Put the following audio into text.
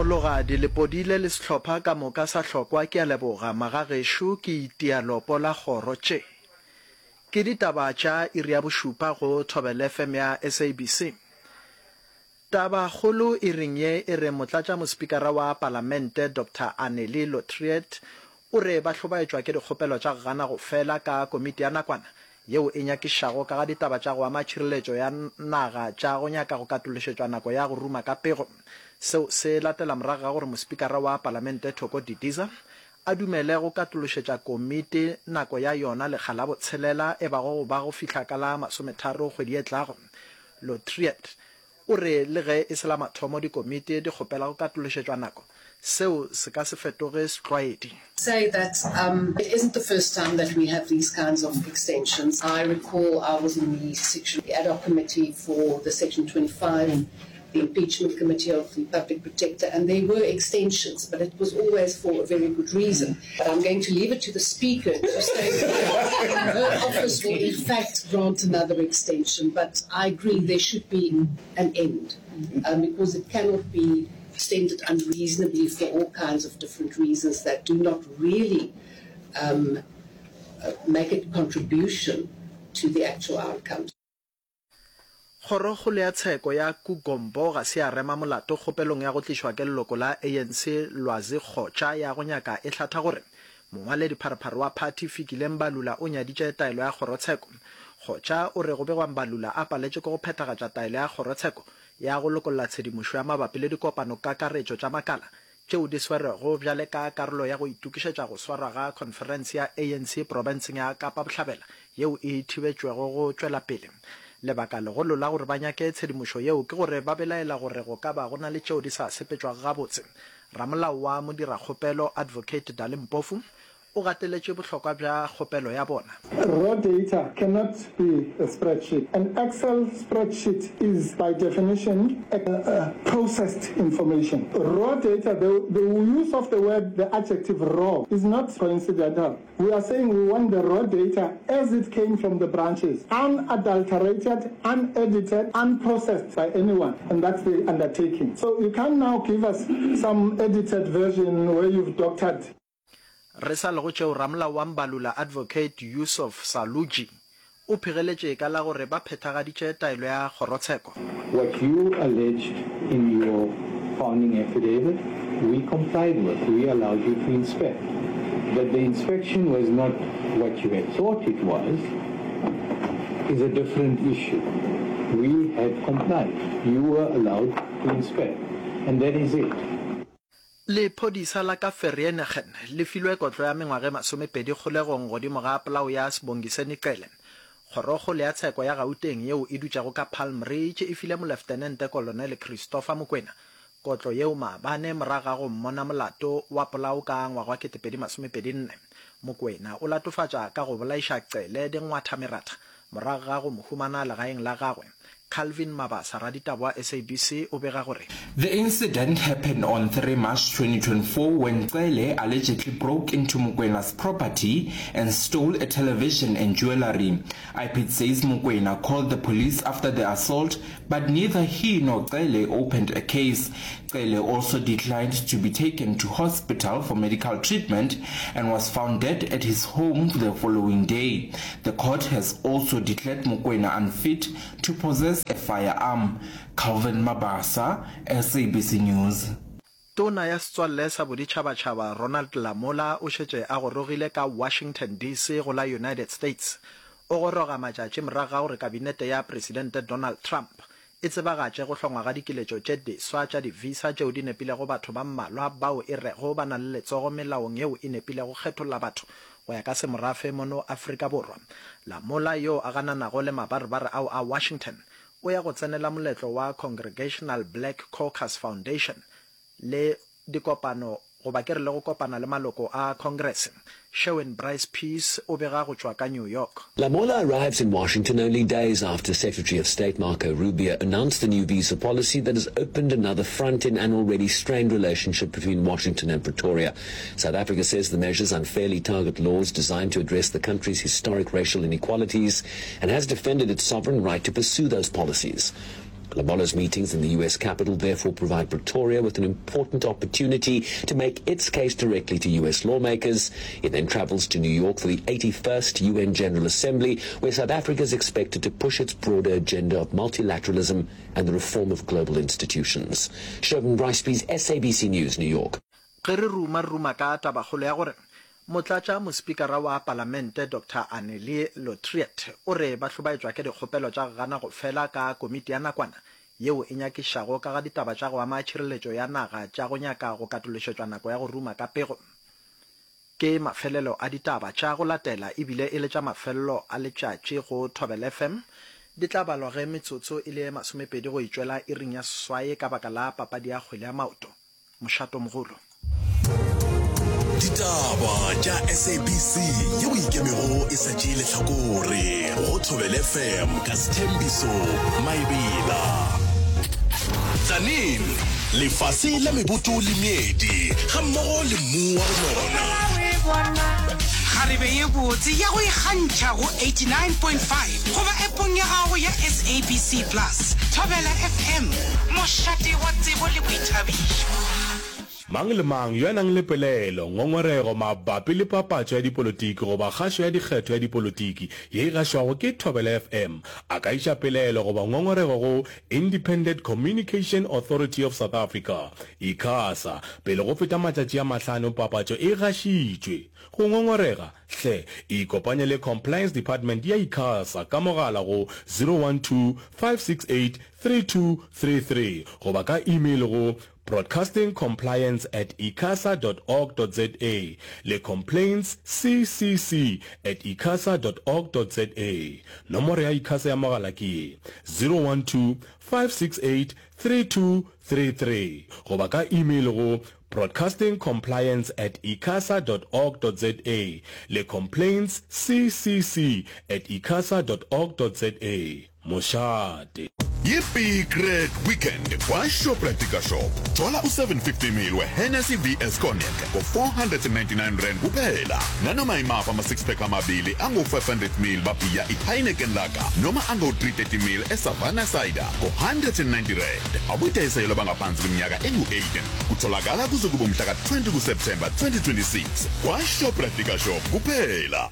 Mologadi, Lepodile le sehlopha ka moka sa hlokwa ke a leboga. Magagešo ke itia lopo la kgoro tše. Ke ditaba tša iri ya bošupa go Thobela FM ya SABC. Tabakgolo iring ye e re Motlatšamospikara wa Palamente Doctor Annelie Lotriet o re ba hlobaetšwa ke dikgopelo tša go gana go fela ka komiti ya nakwana yeo e nyakišišago ka ga ditaba tša go ama tšhireletšo ya naga tša go nyaka go katološetšwa nako ya go ruma ka pego. Seo se latela morago ga gore Mospikara wa Palamente Thoko Didiza a dumele go katološetša komiti nako ya yona lekga la botshelela e bago go ba go fihla ka la masometharo kgwedi e tlago. Lotriet O re le ge e se la mathomo dikomiti di kgopela go katološetšwa nako, seo se ka se fetoge setlwaedi. Say that it isn't the first time that we have these kinds of extensions. I recall I was in the section, the ad hoc committee for the section 25, the impeachment committee of the public protector, and there were extensions, but it was always for a very good reason. But I'm going to leave it to the speaker to say whether her office will in fact grant another extension. But I agree there should be an end um, because it cannot be extended unreasonably for all kinds of different reasons that do not really um, uh, make a contribution to the actual outcomes. Kgorokgolo ya Tsheko ya Kugombo ga se ya rema molato kgopelong ya go tlišwa ke leloko la ANC Lwazi Kgotša ya go nyaka e hlatha gore mongwaledipharephare wa phathi Fikile Mbalula o nyaditše taelo ya kgorotsheko. Kgotša o re go begwa Mbalula a paletše ke go phethagatša taelo ya kgorotsheko ya go lokolla tshedimošo ya mabapi le dikopanokakaretšo tša makala tšeo di swerwego bjale ka karolo ya go itokišetša go swarwa ga khonferense ya ANC profenseng ya Kapa Bohlabela yeo e thibetšwego go tšwela pele. Lebaka legolo la gore ba nyake tshedimošo yeo ke gore ba belaela gore go ka ba go na le tšeo di sa sepetšwago gabotse. Ramolao wa modirakgopelo Advocate Dali Mpofu o gateletše bohlokwa bja kgopelo ya bona. Raw data cannot be a spreadsheet. An Excel spreadsheet is by definition a processed information. Raw data, the, the use of the word, the adjective raw, is not coincidental. We are saying we want the raw data as it came from the branches, unadulterated, unedited, unprocessed by anyone, and that's the undertaking. So you can't now give us some edited version where you've doctored. Re sa le go tšeo, ramolao wa Mbalula Advocate Yusuf Saluji o phegeletše ka la gore ba phethagaditše taelo ya kgorotsheko. What you alleged in your founding affidavit, we complied with. We allowed you to inspect. That the inspection was not what you had thought it was is a different issue. We had complied. You were allowed to inspect. And that is it. Lephodisa la ka Vereeniging le filwe kotlo ya mengwaga e masomepedi kgolegong godimo ga polao ya Sibongiseni Cele. Kgorokgolo ya tsheko ya Gauteng yeo e dutšego ka Palm Ridge e file Moleftenente Kolonele Christopher Mokwena kotlo yeo maabane morago ga go mmona molato wa polao ka ngwaga wa 2024. Mokwena o latofatša ka go bolaiša Cele dingwathameratha Morago ga go mo humana legaeng la gagwe, Calvin Mabasa, raditaba wa SABC o bega gore. The incident happened on 3 March 2024 when Cele allegedly broke into Mokoena's property and stole a television and jewellery. IPID says Mokoena called the police after the assault but neither he nor Cele opened a case. Cele also declined to be taken to hospital for medical treatment and was found dead at his home the following day. The court has also declared Mokoena unfit to possess a firearm. Calvin Mabasa, SABC News. Tona ya Setswalle sa Boditšhabatšhaba Ronald Lamola o šetše a gorogile ka Washington, DC. go la United States. O goroga matšatši morago ga gore kabinete ya Presidente Donald Trump e tsebagatše go hlongwa ga dikiletšo tše diswa tša di-visa tšeo di nepilego batho ba mmalwa bao e rego ba na le letsogo melaong yeo e nepilego kgetholla batho go ya ka semorafe mono Afrika Borwa. Lamola, yo a gananago le mabarebare ao a Washington, o ya go tsenela moletlo wa Congregational Black Caucus Foundation le dikopano goba ke re le go kopana le maloko a Congress. Sherwin Bryce Pease o bega go tšwa ka New York. Lamola arrives in Washington only days after Secretary of State Marco Rubio announced the new visa policy that has opened another front in an already strained relationship between Washington and Pretoria. South Africa says the measures unfairly target laws designed to address the country's historic racial inequalities and has defended its sovereign right to pursue those policies. Labolla's meetings in the U.S. capital therefore provide Pretoria with an important opportunity to make its case directly to U.S. lawmakers. He then travels to New York for the 81st UN General Assembly, where South Africa is expected to push its broader agenda of multilateralism and the reform of global institutions. Sherwin Bryce-Pease, SABC News, New York. Ge re ruma re ruma ka tabakgolo ya gore Motlatša Mospikara wa Palamente Doctor Annelie Lotriet o re ba hlobaetšwa ke dikgopelo tša go gana go fela ka komiti ya nakwana yeo e nyakišago ka ga ditaba tša go ama tšhireletšo ya naga tša go nyaka go katološetšwa nako ya go ruma ka pego. Ke mafelelo a ditaba tša go latela e bile e le tša mafelelo a letšatši go Thobela FM. Di tla balwa ge metsotso e le ye masomepedi go e tšwela iring ya seswai ka baka la papadi ya kgwele ya maoto. Mošatomogolo. Ditaba tša SABC yeo ikemego e sa tšee lehlakore go Thobela FM ka Sthembiso Maebela. Tzaneen, lefase la meboto le meedi gammogo le mmu wa go nona. Kgarebe ye botse ya go ikgantšha go 89.5 goba appong ya gago ya SABC Plus. Thobela FM, mošate wa tsebo le boithabišo. Mang le mang yo a nang le pelaelo, ngongorego mabapi le papatšo ya dipolotiki goba kgašo ya dikgetho ya dipolotiki ye e gašwago ke Thobela FM a ka iša pelaelo goba ngongorego go Independent Communication Authority of South Africa, ICASA, pele go feta matšatši a mahlano papatšo e gašitšwe. Go ngongorega, hle ikopanye le Compliance Department ya ICASA ka mogala go 012 568 3233 goba ka email go broadcastingcompliance at icasa dot org dot za le complaintsccc at icasa dot org dot za. Nomoro ya ICASA ya mogala ke ye, 012 568 3233 goba ka email go broadcastingcompliance at icasa dot org dot za le complaintsccc at icasa dot org dot za. Mošate. Ye Big Red Weekend kwa Shoprite Liquor Shop. Thola u-750ml we-Hennessy VS Cognac ngo-R499 kuphela. Nanoma imaphi ama-six pack amabili angu-500ml babhiya i-Heineken Lager noma angu-330ml e-Savanna Cider ngo-R190. Abudayiselwa abangaphansi kweminyaka engu-18. Kutholakala kuze kube umhla ka-20 kuSepthemba 2026 kwa-Shoprite Liquor Shop kuphela.